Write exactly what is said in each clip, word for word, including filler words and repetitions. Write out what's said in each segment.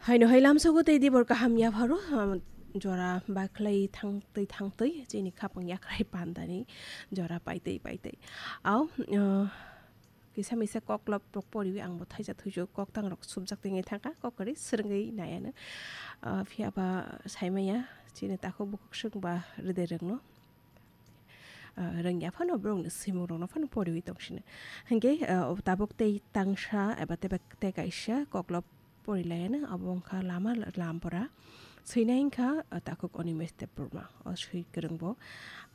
Haino hai lamsogo tei dibor kaham yapharo, um, jora bakhlai thangtwi thangtwi chini khapang yakrai pandani jora paitwi paitwi. Au, uh, kisa misa koklop rok poriwi ang bo thaisa thuisu koktang rok subjak tengwi thangkha, kok kwrwi swrwngwi naiano. Uh, phiya ba saimaya chini takhuk bukhuk swng ba rwdai rwngno. Ah, rwngya phano borokni swimung rokno phano poriwi tongsino. Hinkhe, ah, tabuk tei tangsa eba tei kaisa koklop porilaiano, abo wngkha lama lampora. Swinai wngkha, ah, takhuk Animesh Debbarma. O swi kwrwngbo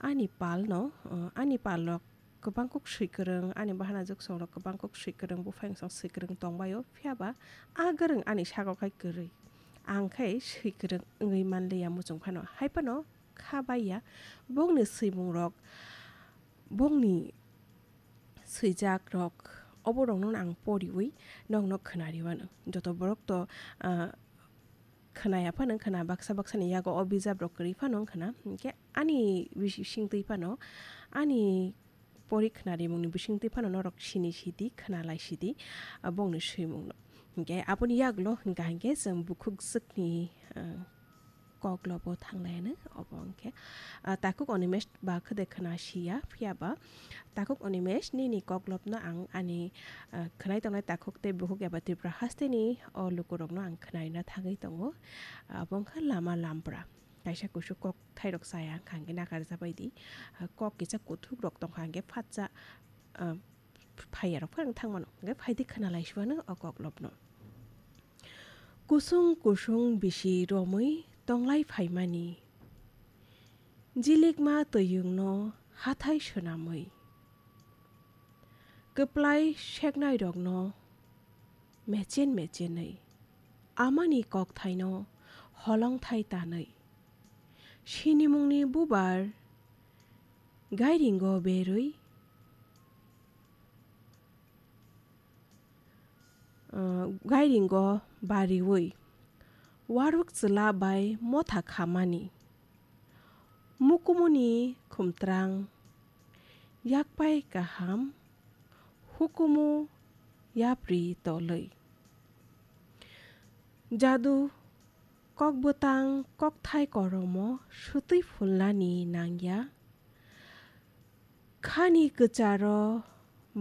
ani palno, ah, ani palno kwbang kuk swi kwrwng, ani bahana juksongrok kwbang kuk swi kwrwng, buphang song swi kwrwng tongbaio, phiyaba a kwrwng ani sago khai kwrwi. Ang khai swi kwrwng wngwi manliya muchung phano. Hai phano kha baiya, bongni swimungrok, bongni swijakrok, oborokno ang poriwi nokno khwnariwano. Joto borok to, ah, khwnaya phano khwna, baksa baksani yago o bijaprok kwrwi phano wngkhwna. Hinkhe ani bisi-, bisingtwi phano, ani pori khwnarimungni bisingtwi phano norok sini sidi, khwnalai sidi, ah, bongni swimungno. Hinkhe aboni yagulo hwnkha hinkhe chwng bukhuk jwkni, ah, koklobo thanglaiano, obo wngkhe, ah, takhuk Animesh ba khwde khwna siya, phiyaba takhuk Animesh nini koklopno ang ani, ah, khwnai tongnai takhuk tei bukhuk eba Tripura hasteni o lukurokno ang khwnaina thangwi tongo. Abo wngkha lama lampra. Kaisa kusu kok thairok chaya wngkha hwnkhe nakarjabaidi, ah, kok kisa kuthukrok tongkha hwnkhe phatsa, ah, phaiyarok phano thangmano, hwnkhe phaidi khwnalaisubano o koklopno. Kusung kusung bisi romwi tonglai phaimani, jilikma twiyungno hathai swnamwi, kwplai seknairokno mechen mechenwi, amani kokthaino holongthai tanwi, sinimungni bubar gairingo berwi, ah, gairingo bariwi, waruk chwla bai motha khamani, mukumuni khumtrang, yakpai kaham, hukumu yapri tolwi. Jadu kokbwtang kokthai koromo swtwi phulnani nangya. Khani kwcharo